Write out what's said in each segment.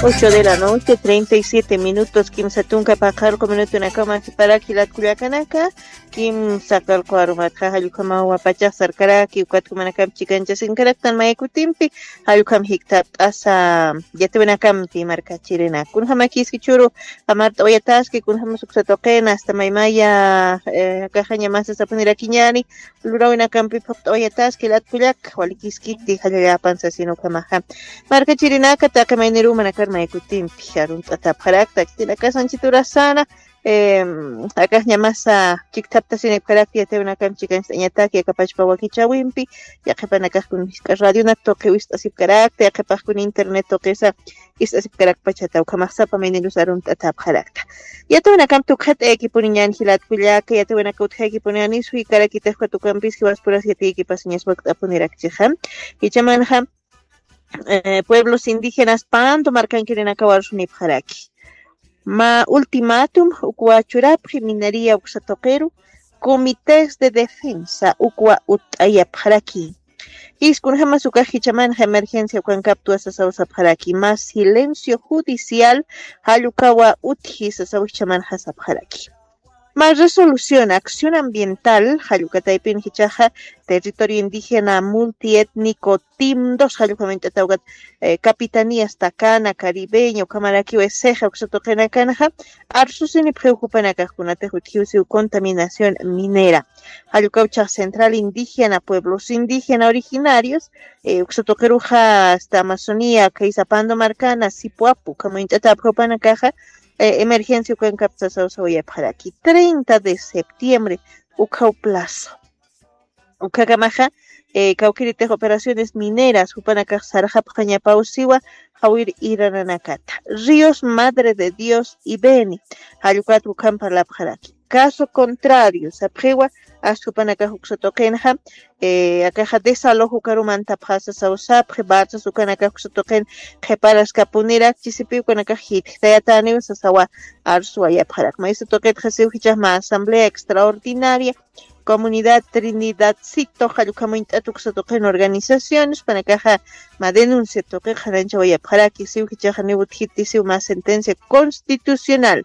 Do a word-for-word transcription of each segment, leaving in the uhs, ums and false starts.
Ocho de la noche, treinta y siete minutos, kimsa tunka paqarqu minutunakama jiparak jilat kullakanaka, kimsa karqu arumatxa jallukamawa pachax sarkaraki, ukat jumanakam chikanchasinkaraktan maykutimpi, jallukam jiktapt'asa yatiwinakampi markachirina. Kunjamakiski churu, jamart'awayataski, kunjamas uksa tuqina, hasta maymaya, eh, akaxaña masa sapunirakiñani, lurawinakampi phuqt'awayataski, jilat kullak, walikiskiti, jallallapan sasin ukhamaxa. Markachirinaka taqi maynirumanakar maykutimpi, arunt'atapxarakta, khitinakasanchiturasana, em, akaxñamasa chikthaptasinipxarakta, yatiwinakam chikanchtañataki, akapachpa wakichawimpi, yaqhipanakaxkun jisk'a radionak tuqi wist'asipkarakta, yaqhipaxkun internet tuqisa ist'asipkarakpachata, ukhamax sapa maynirus arunt'atapxarakta. Yatiwinakam tukxat'aykipuniñan jilat kullaka, yatiwinaka utjaykipuniñan, suykarakitakpat ukampis jiwaspuras yatiykipasiñas wakt'apunirakchixa. Jichhamanxa, eh, pueblos indígenas Pando markankirinakaw arsunipxaraki. Mä ultimátum ukwa churapxi minería uksa tuqiru, comités de defensa ukwa utt'ayapxaraki. Jis kunjamas ukax jichhamanxa emergencia ukankaptwa sasaw sapxaraki, mä silencio judicial jallukawa utji sasaw jichhamanxa sapxaraki. Mä resolución acción ambiental jallukataypin jichhaxa territorio indígena multiétnico TIM dos jallukamañt'atawkat, eh, capitanías Takana, Caribeña, ukhamarakiw Eseja uksa tuqinakanxa, arsusinipxiw jupanakax kunatix utjiw siw contaminación minera. Jallukaw jichhax central indígena, pueblos indígena originarios, eh, uksa tuqiruxa hasta Amazonía, khaysa Pando markana, Sipuapu, ukhamañt'atapxi jupanakaxa, eh, emergencia ukankaptwa sasaw sawayapxaraki. Treinta de septiembre, ukhaw plazo. Ukhakamaxa, eh, kawkïritix operaciones mineras, jupanakax sarxapxañapaw siwa, jawir irananakata. Ríos, Madre de Dios y Beni, jallukat ukham parlapxaraki. Caso contrario, sapxiwa, ast jupanakax uksa tuqinxa, eh, akaxa desalojo ukaru mantapxasa sasaw sapxi, balsas ukanakax uksa tuqin qhiparaskapunirak, chisipi ukanakax jitjtayataniw sasawa arsuwayapxarak. Maysa tuqitxa siw jichhax mä asamblea extraordinaria, comunidad Trinidadcito, jallukamañt'at uksa tuqin organizaciones, jupanakaxa mä denuncia tuqi qhananchawayapxaraki, siw jichhaxa niw utjiti siw mä sentencia constitucional,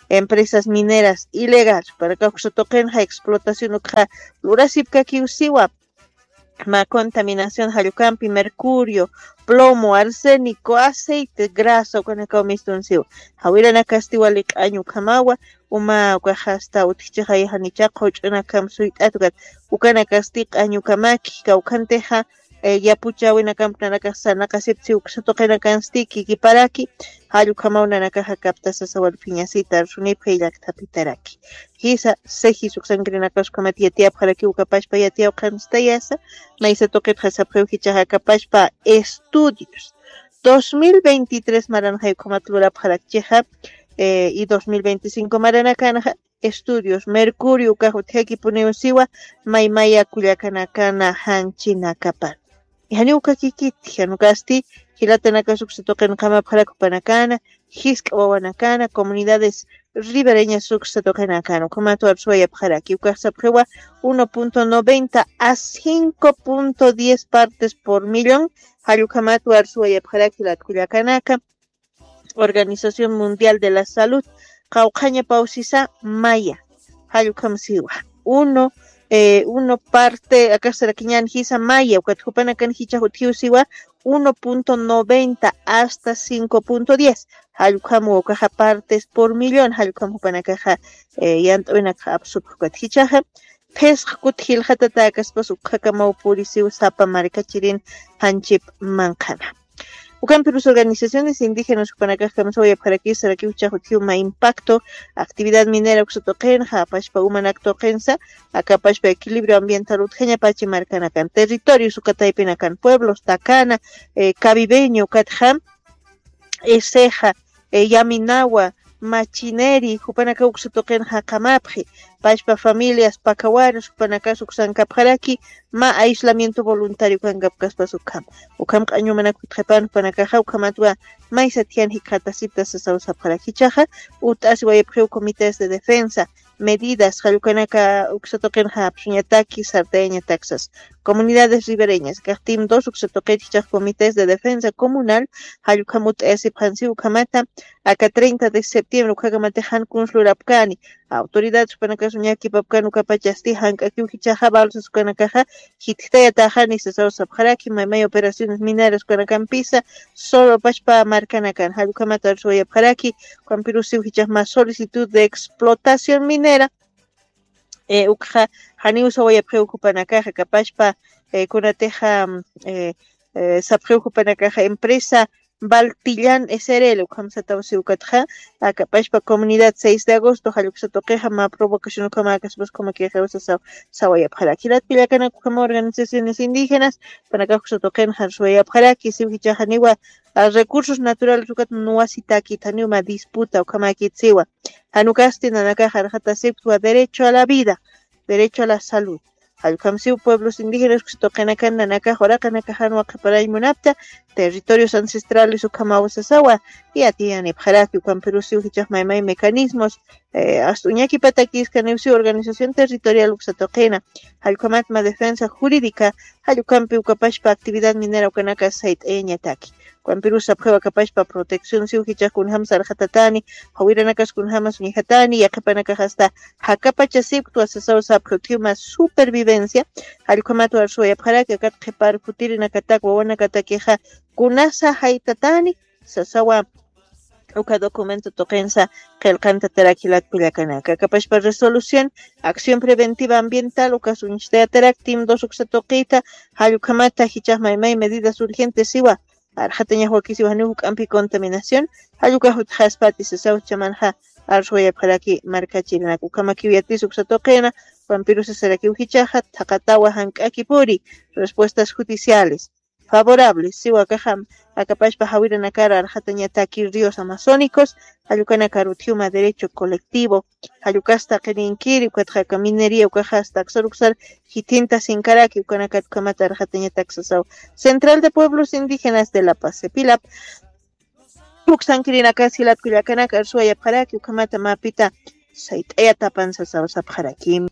empresas mineras ilegales, jupanakax uksa tuqinxa explotación ukxa lurasipkakiw siwa, mä contaminación jallukampi mercurio, plomo, arsénico, aceite, grasa, ukanakaw mistun siw. Jawiranakasti wali q'añ ukhamawa, uma ukaxa hasta utjchixay janicha qhuch'unakam suyt'at ukat, ukanakasti q'añ ukamaki, kawkhantixa, eh, yapuchäwinakamp nanakax sarnaqasiptsi uksa tuqinakansti kikiparaki, jall ukhamaw nanakaxa kaptasa sasaw walphiñasita arsunipxi llakthapitaraki. Jisa, sejis uksankirinakax ukhamat yatiyapxaraki ukapachpa yatiyawqhanstayasa, maysa tuqitxa sapxiw jichhaxa akapachpa estudios. Dos mil veintitrés maranxay ukhamat lurapxarakchixa, eh, y dos mil veinticinco maranakanxa, estudios, mercurio ukax utjakipuniw siwa, maymaya kullakanakana janchinakapan. Janiw ukakikiti, jan ukasti, jilatanakas uksa tuqin qamapxarak jupanakana, jisk'a wawanakana, comunidades ribereñas uksa tuqinakana, ukhamat arsuwayapxaraki, ukax sapxiwa uno punto noventa a cinco punto diez partes por millón, jall ukhamat arsuwayapxaraki jilat kullakanaka, Organización Mundial de la Salud, qawqhañapaw sisa maya, jall ukham siwa. Uno, eh, uno parte, akax sarakiñän jisa maya, ukat jupanakan jichhax utjiw siwa, uno punto noventa hasta cinco punto diez. Jall ukham ukaxa partes por millón, jall ukham jupanakaxa, eh, yant'awinakax apsupxi ukat jichhaxa. Phisqa kuti jilxatatäkaspas ukhakamaw purisiw sapa markachirin janchip manqhana. Ukampirus organizaciones indígenas jupanakax kamsawayapxarakis sarakiw jichhax utjiw mä impacto, actividad minera uksa tuqinxa, apachpa umanak tuqinsa, akapachpa equilibrio ambiental utjañapachi markanakan, territorios uka taypinakan, pueblos Takana, eh, Cabibeño ukatxa, Eseja, eh, Yaminawa, Machineri, jupanakaw uksa tuqin jaqamapxi, pachpa familias, pakawaras, jupanakas uksankapxaraki, mä aislamiento voluntario kankapkaspas ukham. Ukham q'añumanak jutqipan jupanakaxa, ukhamatwa maysa tiyan jikxatasipta sasaw sapxaraki jichhaxa, ut'asiwayapxiw comités de defensa, medidas jallukanaka uksatuqin japsuñataki sartayañataksas. Comunidades ribereñas kaqtim dos uksatuqit jichaq comités de defensa comunal jallukhamut ayasipxansi ukhamata aka treinta de septiembre ukhakamati jankuns lurapkani. Autoridades ukanakasuñakipapkan ukapachasti jank'akiw jichaqa balsas ukanakaqa jitjtayataxani sasaw sapxaraki maymay operaciones mineras ukanakampisa solo pachpa markanakan jallukhamata arsuwayapxaraki. Ukampirusiw jichaq mas solicitud de explotación minera. Ukxa janiw sawayapxiw jupanakaxa kapachpa kunatixa sapxiw jupanakaxa empresa baltillan srl ukham sataw siwkatxa. Akapachpa comunidad seis de agosto jalluksa tuqixa mä provocación ukhama kaspas ukhama kixiwsa sawayapxaraki jilat pillakanak ukhama organizaciones indígenas panakax uksa tuqin jarsuwayapxaraki siw jichaxaniwa recursos naturales ukat nuwasitakit janiw mä disputa ukhamakit siwa. Janukasti nanakax arxatasipktwa derecho a la vida, derecho a la salud. Jallukhamsiw pueblos indígenas uksa tuqinakan nanakax uraqanakaxanwa qhiparañ munapta territorios ancestrales ukhamaw sasawa. Yatiyanipxaraki ukampirusiw jichax maymay mecanismos ast'uñakipatakis kaniwsiw organización territorial uksa tuqina jallukhamatma defensa jurídica. Jallukampi ukapachpa actividad minera ukanaka sayt'ayañataki ukampirus sapxiw akapachpa protección siw jichax kunjam sarxatatani jawiranakas kunjamas uñjatani yaqhipanakax asta jakapachasipktwa sasaw sapxi utjiw mas supervivencia. Jallukhamat warsuwayapxaraki akat qhipar futirinakatak wawanakatakixa kunasa jaytatani sasawa. Uka documento tuqinsa qillqantataraki jilat kullakanaka akapashpa resolución acción preventiva ambiental ukas uñstayatarak tim dos uksa tuqita. Jallukhamata jichax maymay medidas urgentes siwa arxatañax wakisiwa janiw juk'ampi contaminación. Jallukax utjaspati sasaw chamanxa arsuwayapxaraki markachirinak ukhamakiw yatis uksa tuqina. Ukampirusasarakiw jichaxa thaqatawa jank'akipuri respuestas judiciales favorables siwa akaxam akapashpa jawiranakar arxatañataki ríos amazónicos. Jallukanakar utjiwma derecho colectivo jallukasta qirinkiri ukatxa aka minería ukaxasta aksar uksar jithinta sinkaraki ukanakat ukhamata arxatañatak sasaw. Central de pueblos indígenas de la paz cepilap uksankirinakas jilat kullakanaka arsuwayapxaraki ukhamata mapita sayt'ayatapan sasaw sapxaraki.